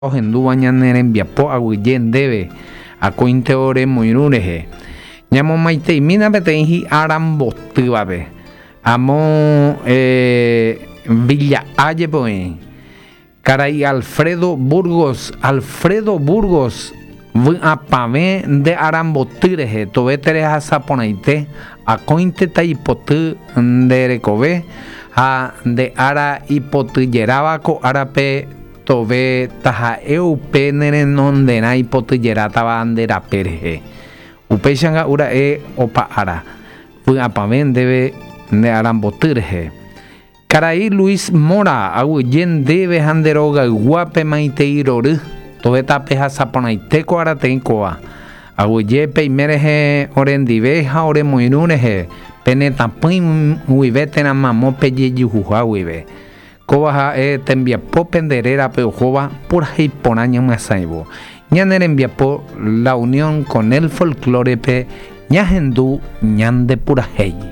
Ohendúva ñane rembiapo aguyje ndéve akóinte ore moirũ rehe. Ñamomaiteimína peteĩ hi'ára mbotývape. Amo Villa Aye-pe oĩ. Karai Alfredo Burgos, Alfredo Burgos, vy'apavẽ nde ára mboty rehe, tove terehasa porãite, akóinte taipoty nde rekove ha nde ára ipotyjeráva ko árape Tove taha'e upe ne renonderã ipotyjerátava nde rape rehe. Upéicha nga'u ra'e opa ára, vy'apavẽ ndéve nde aramboty rehe. Karai Luis Mora, aguyje ndéve ha nde rogayguápe maitei rory, tove tapehasa porãite ko arateĩ kóva. Aguyje peime rehe orendive ha oremoirũ rehe pene tapỹi guive térã mamo pejejuhuha guive. Kóva ha'e tembiapo pende rérape ohóva purahéi porã ñamyasãivo. Ñane rembiapo La Unión con el Folklore-pe ñahendu ñande purahéi.